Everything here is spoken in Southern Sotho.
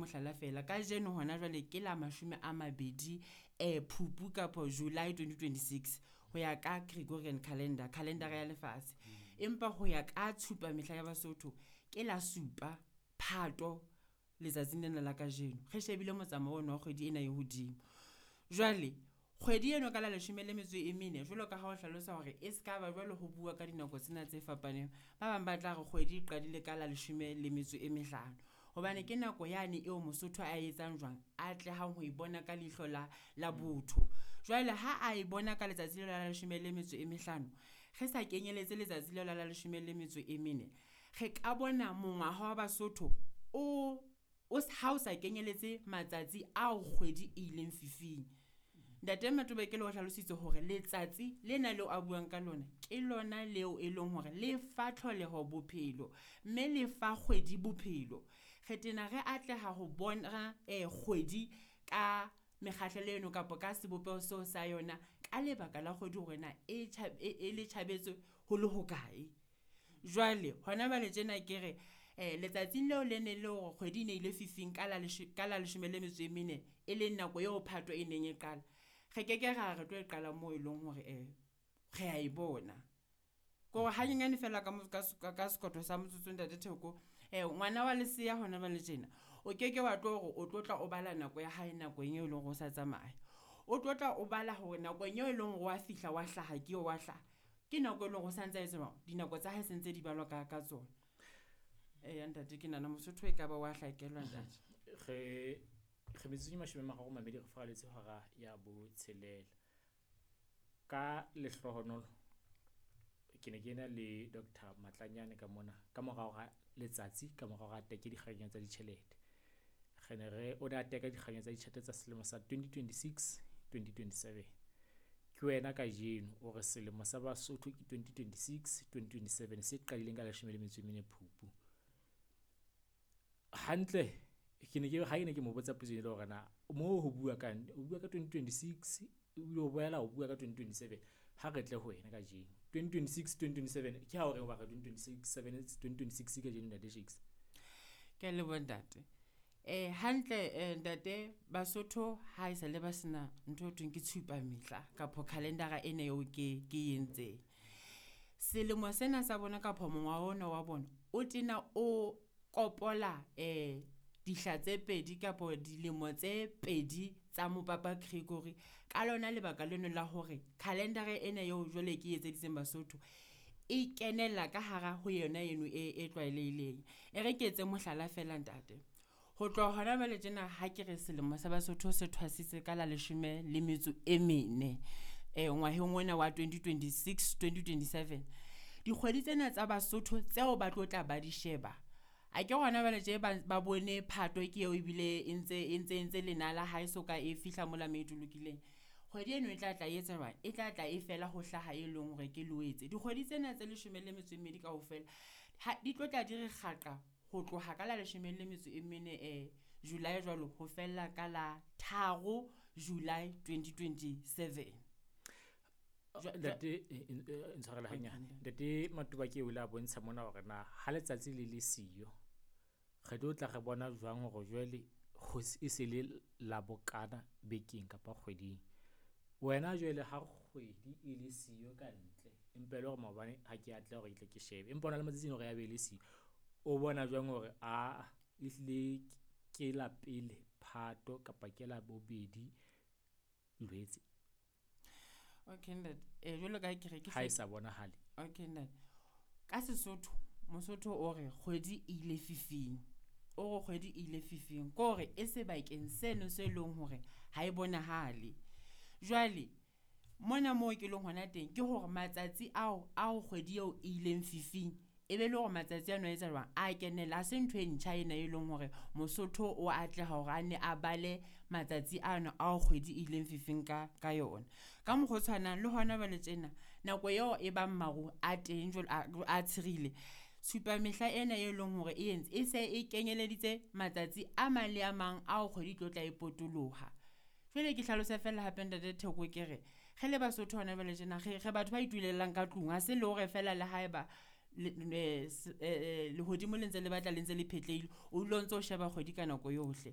Mohlala feela, kajeno hona jwale ke la 20 Phupu kapo July 2026 ho ya ka Gregorian calendar, calendar ya lefatshe. Empa ho ya ka tshupa mehla ya Basotho ke la 7 Phato letsatsing lena la kajeno. Re shebile motsamao ona wa kgwedi ena e hodimo. Jwale kgwedi eno ka la 14 jwalo ka ha o hlalosa hore e ska ba jwalo ho bua ka dinako tsena tse fapaneng. Ba bang ba tla re kgwedi e qadile ka la 15. Hobane ke nako yane eo Mosotho a etsang jwang, a atlehang ho e bona ka leihlo la botho. Jwale ha a e bona ka letsatsi leo la 15, re sa kenyelletse letsatsi leo la 14, re ka bona mongwaha wa Basotho o ha o sa kenyelletse matsatsi ao kgwedi e ileng fifing. Ntate Matobakele o hlalositse hore letsatsi lena leo a buang ka lona, ke lona leo e leng hore le fa tlholeho bophelo, mme le fa kgwedi bophelo. Re tena re atleha ho bona kgwedi ka mekgahlelo eno kapa ka sebopeho seo sa yona ka lebaka la kgwedi hore na e e le tjhabetse ho le hokae. Jwale hona jwale tjena ke re letsatsing leo le ne le hore kgwedi e ne ile fifing ka la ka la 14, e leng nako eo Phato e neng e qala. Re keke ra re tlo e qala moo eleng hore re a e bona. Kore hanyenyane feela ka ka sekoto sa motsotso ntate Theko. Ngwana wa leseya hona jwale tjena, o keke wa tlo hore o tlo tla o bala nako ya hae nakong eo eleng hore o sa tsamaya. O tlo tla o bala hore nakong eo eleng hore wa fihla wa hlaha ke eo wa hlaha. Ke nako e leng hore o santse a etsa jwang, dinako tsa hae se ntse di balwa ka tsona. Eya ntate ke nahana Mosotho e ka ba wa hlakelwa ntate. Re metsotso e 32 re furaletse hora ya botshelela. Ka lehlohonolo ke ne ke na le Dr. Matlanyane ka mona ka morao ga letsatsi, ka morao ga teke dikganya tsa ditjhelete. Re ne re o ne a teka dikganya tsa ditjhelete tsa selemo sa 2026 2027. Ke wena kajeno o re selemo sa Basotho ke 2026 2027 se qadileng ka 14 Phupu. Hantle ke ne ke ha ke ne ke mo botsa potso e le hore na mo ho bua kang, o bua ka 2026 ebile o boela o bua ka 2027. Ha re tle ho wena kajeno 2026 2027 ke ha o reng wa re 2026 7 2026 kajeno ntate Shakes. Ke a leboha ntate. Hantle ntate Basotho ha e sa le ba sena ntho e thweng ke tshupa mehla kapo calendar-a ena eo ke entseng. Selemo sena sa bona kapa mongwaha ona wa bona o tena o kopola dihla tse pedi kapo dilemo tse pedi tsa Mopapa Gregory. Ka lona lebaka leno la hore calendar-a ena eo jwale ke etseditseng Basotho e kenella ka hara ho yona eno e tlwaelehileng. E re ke etse mohlala feela ntate, ho tloha hona jwale tjena ha ke re selemo sa Basotho se thwasitse ka la 14 ngwaheng ona wa 2026 2027. Dikgwedi tsena tsa Basotho tseo ba tlo tla ba di sheba, akere hona jwale tje ba bone Phato ke eo ebile e ntse e ntse entse lenala ha e soka e fihla mola moo e tolokileng. Kgwedi eno e tla tla e etsa jwang, e tla tla e fela ho hlaha e leng hore ke Loetse. Dikgwedi tsena tse 12 kaofela ha di tlo tla di re kgaqa ho tloha ka la 14 July jwalo ho fella ka la 3 July 2027. Ntate ntshwarele hanyane. Ntate Matobake o ile a bontsha mona hore na ha letsatsi le le siyo re tlo tla re bona jwang hore jwale e se le la bokana bekeng kapa kgweding. Wena jwale ha kgwedi e le siyo ka ntle, empa e le hore maobane ha ke atleha hore ke tle ke shebe, empa hona le matsatsi hore ya be le siyo. O bona jwang hore aa ehlile ke la pele Phato kapa ke la bobedi Loetse? Okay ntate, jwalo ka ha ke re ke Ha e sa bonahale. Okay ntate. Ka Sesotho, Mosotho o re kgwedi e ile fifing. O re kgwedi e ile fifing, ke hore e sebakeng seno se leng hore ha e bonahale. Jwale mona moo ke leng hona teng ke hore matsatsi ao ao kgwedi eo e ileng fifing, e be le hore matsatsi ano a etsa jwang, a kenella. Ha se ntho e ntjha ena e leng hore Mosotho o atleha hore a nne a bale matsatsi ano ao kgwedi e ileng fifing ka yona. Ka mokgwa o tshwanang le hona jwale tjena nako eo e bang maru a teng jwalo a tshirile. Tshupa mehla ena e leng hore e entse e se e kenyeleditse matsatsi a mang le a mang ao kgwedi e tlo tla e potoloha. Jwale ke hlalose feela hape ntate Theko ke re, re le Basotho hona jwale tjena re batho ba itulelang ka tlung. Ha se le hore feela le haeba Lehodimo le ntse le batla le ntse le phetlehile, o dula o ntso o sheba kgwedi ka nako yohle.